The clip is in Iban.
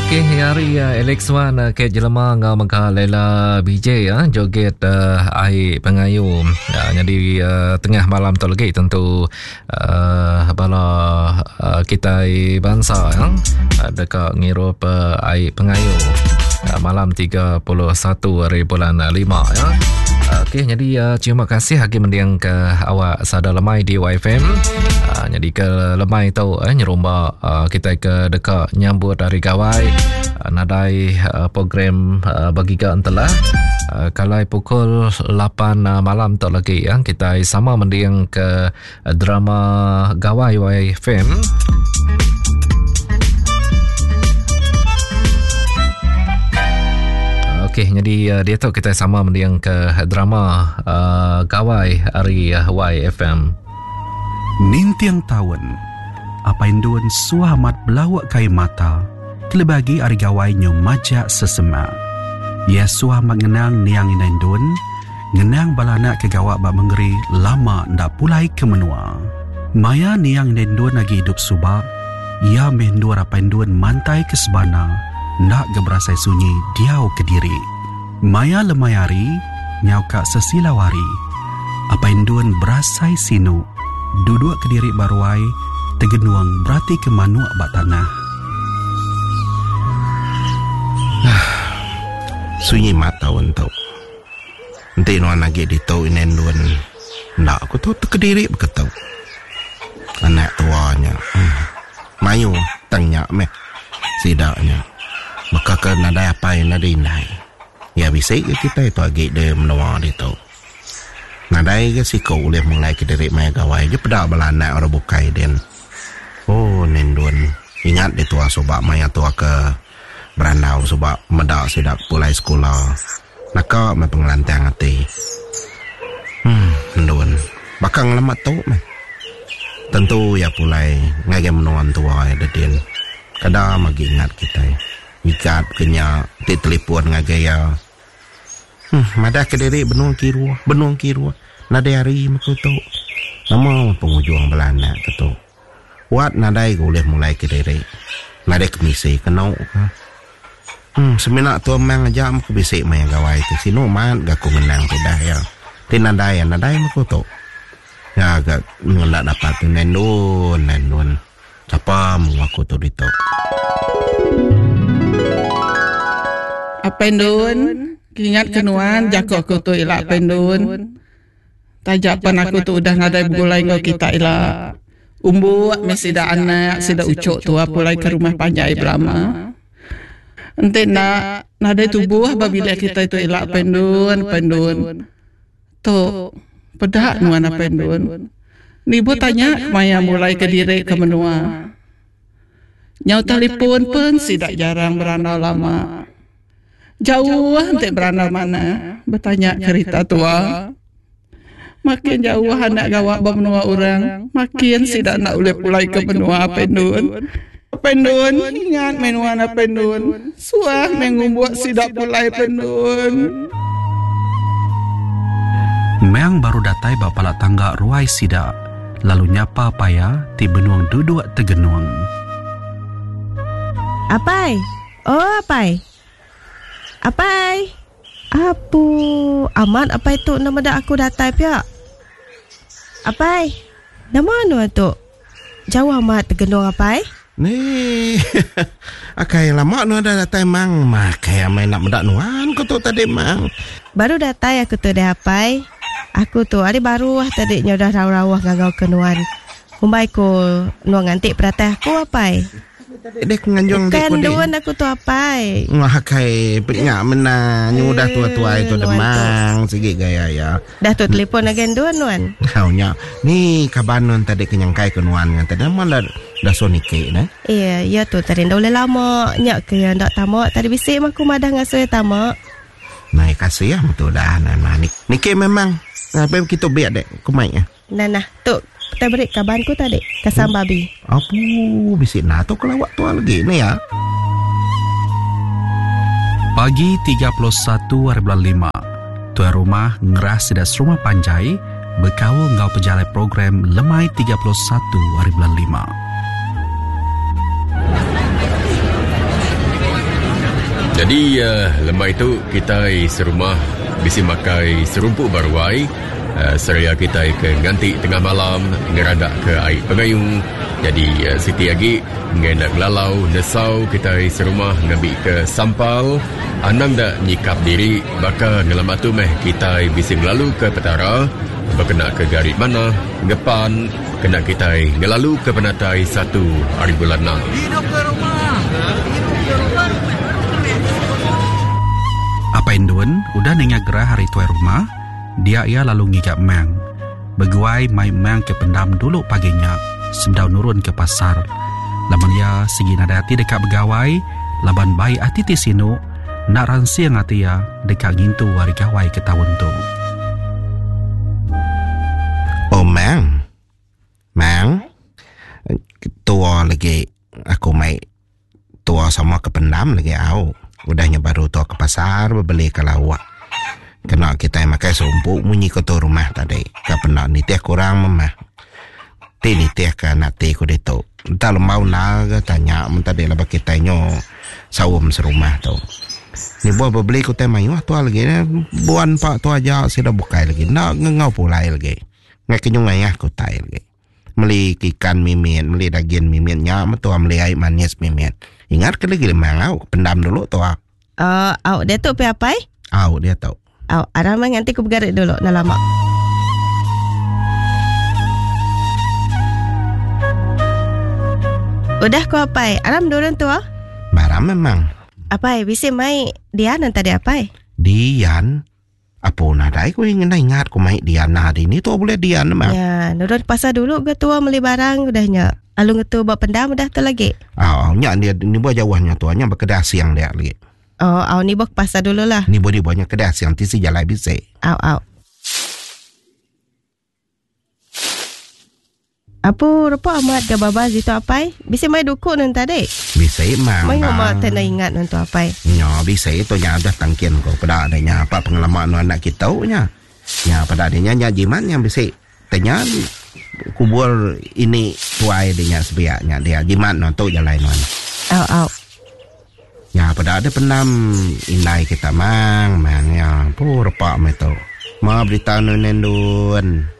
Okey, hari uh, Alex Wan uh, ke jelema ngau mega Lela BJ ya, uh, joget uh, ai pengayu. Uh, jadi uh, tengah malam tu lagi tentu uh, bala uh, kita bangsa ya, uh, deka ngirup uh, ai pengayu uh, malam 31 hari bulan 5 ya. Okey, jadi uh, terima kasih lagi mending ke awak sada lemai di YFM. Uh, jadi ke lemai tu eh, nyerumba uh, kita ke deka nyambut hari gawai uh, nadai uh, program uh, bagi ke entelah. Uh, kalau pukul 8 uh, malam tu lagi ya, kita sama mending ke drama Gawai YFM. Okey, jadi uh, dia tu kita sama mending ke drama uh, Gawai hari uh, YFM. Ninting taun, Apai Endun suah amat belauk ke ai mata kelebih agi ari gawai nyu majak sesemak. Iya suah amat ngenang niang indai Endun Ngenang bala anak ke gawa ba mengeri lama enda pulai ke menua. Maya niang indai endun agi idup suba, iya meh endur apai endun mantai ke sebana enda ga berasai sunyi diau kediri. Maya lemai hari, nyau ka sesilau hari, apai endun berasai sinu duduk kediri ba ruai tegenung beratika manuk ba tanah. Sunyi mat taun tu. Enti nuan agi ditu indai endun enda ku tu tekediri baka tu. Anak tua nya uhh mayuh tang nya meh sida nya baka ke nadai apai nadai indai. Iya bisi ga kitai tu agi di menua ditu. Nadai ga siku ulih mulai kediri maya gawai je peda bala anak orang bukai din. Oh indai endun ingat ditua suba maya tua ke berandau suba meda sida pulai sekula. Naka meh pengelantang ati. Uhh endun. Baka ngelama tu meh. Tentu iya pulai ngagai menua entua iya dedin. Kada magi ingat kitai. Ngikat ke nya ti telipon ngagai iya. Uhh madah ke diri benung kiruh, benung kiruh. Nadai hari meh ku tu. Nama pengujung bala anak ke tu. Wat nadai ga ulih mulai ke diri. Nadai kemisi kenu ka. Em semina tua mang aja meh ku bisi maya gawai tu. Sinu mat ga ku ngenang tudah iya. Ti nadai iya nadai meh ku tu. Nya ga enda dapat tu nendun nendun. Sapa mung aku tu ditu. Apai Endun, kingat ke nuan jaku aku tu ila Apai Endun. Taja pan aku tu udah nadai begulai enggau kita ila. Umbuk meh sida anak sida uchuk tua pulai ke rumah panjai belama. Enti enda nadai tubuh ba bilik kitai tu ila apai endun apai endun. Tu peda nuan apai endun. Nibuh tanya kemaya mulai ke diri ke menua. Nyau telipon pen sida jarang berandau lama. Jauh enti berandau manah betanya kerita tua. Makin jauh anak gawa ba menua orang, makin sida enda ulih pulai ke menua Apai Endun. Apai Endun, ingat meh nuan Apai Endun. Suah meh ngumbuk sida pulai Apai Endun. Meng baru datai ba pala tangga ruai sida lalu nyapa paya ti benung duduk tegenung. Apai! Oh apai. Apai. Apu, amat apai tu enda meda aku datai pia. Apai, nama nuan tu? Jauh amat tegenung apai. Ni. Akai lama nuan dah datai mang. Makai amai enda meda nuan ku tu tadi mang. Baru datai aku tu deh apai. Aku tu ari baruh tadi nyau dah rauh-rauh ngangau ke nuan. Umbai ku nuan nganti pedatai aku apai. Dek nganjung dek Bukan duan aku tu apai. Wah kai penya mena nyu dah tua tuai tu demang sigi gaya ya. Dah tu telefon agai duan nuan. Kau nya ni kaban nuan tadi ke nyangkai ke nuan ngan tadi nama dah dah so niki ne. Iya, iya tu tadi nda ulih lama nya ke iya nda tama tadi bisi mah aku madah ngasuh iya tama. Nai kasih betul dah nah niki memang. Nah, kitu biak dek ku mai. Nah nah, tu kitai beri kaban ku tadi, kasam babi. Apu, bisi nah tu kelawak tua lagi ni ya. Pagi 31 hari bulan lima, tuai rumah ngerah sida serumah panjai bekaul enggau pejalai program lemai 31 hari bulan lima. Nyadi lemai tu kitai serumah bisi makai serumpu ba ruai seraya kitai ke nganti tengah malam ngeradak ke ai pengayu. Nyadi siti agi enggai enda ngelalau nesau kitai serumah ngambi ke sampal anang enda nyikap diri baka ngelama tu meh kitai bisi ngelalu ke Petara bekena ke gari manah ngepan kena kitai ngelalu ke penatai satu ari bulan enam. Apai Endun udah ninga gerah ari tuai rumah, dia iya lalu ngiga Mang. Beguai mai Mang ke pendam dulu pagi nya sebedau nurun ke pasar. Laban iya sigi nadai ati deka begawai laban bai ati ti sinu enda ransing ati iya deka ngintu hari gawai ke taun tu. Oh Mang. Mang. Tua lagi aku mai tua sama ke pendam lagi au. Udah nya baru tua ke pasar bebeli ke lauk. Kena kitai makai serumpu munyi ke tu rumah tadi. Ka penda nitih kurang memah. Ti nitih ke anak ti ku ditu. Enta lembau enda ke tanya mun tadi laban kitai nyo saum serumah tu. Nibuh bebeli ke utai mayuh tua lagi ne. Buan pa tua aja sida bukai lagi. Enda ngengau pulai lagi. Ngai ke nyungai ah ke utai lagi. Meli ke ikan mimit, meli dagin mimit nya meh tua meli ai manis mimit. Ingat ke lagi lemang au, pendam dulu tua. Uh, au dia tu pi apai? Au dia tu. Au, aram meh nganti ku begarit dulu enda lama. Udah ku apai, aram nurun tua. Baram memang. Apai, bisi mai Dian tadi apai? Dian? Apo nadai ku ngena ingat ku mai Diana dini tu bulih Dian mah. Ya, nurun pasar dulu ga tua meli barang udah nya. Alu ngetu ba pendam udah tu lagi. Au, nya dia ni buah jauh nya tu nya ba kedai asing dia lagi. Oh, au ni buah pasar dulu lah. Ni buah ni buah nya kedai asing tisi jalai bisi. Au, au. Apu rupa amat ga babas ditu apai. Bisi mai duku nun tadi. Bisi mang. Mayuh amat tai enda ingat nun tu apai. Nya bisi tu nya udah tangkin ko peda deh nya pa pengelama nu anak kitu nya. Nya peda deh nya nya jimat nya bisi te nya kubur ini tuai deh nya sebiak nya dia jimat nuan tu jalai nuan. Au au. Nya peda deh pendam indai kita mang mang nya. Apu repa meh tu. Ma berita nu nendun.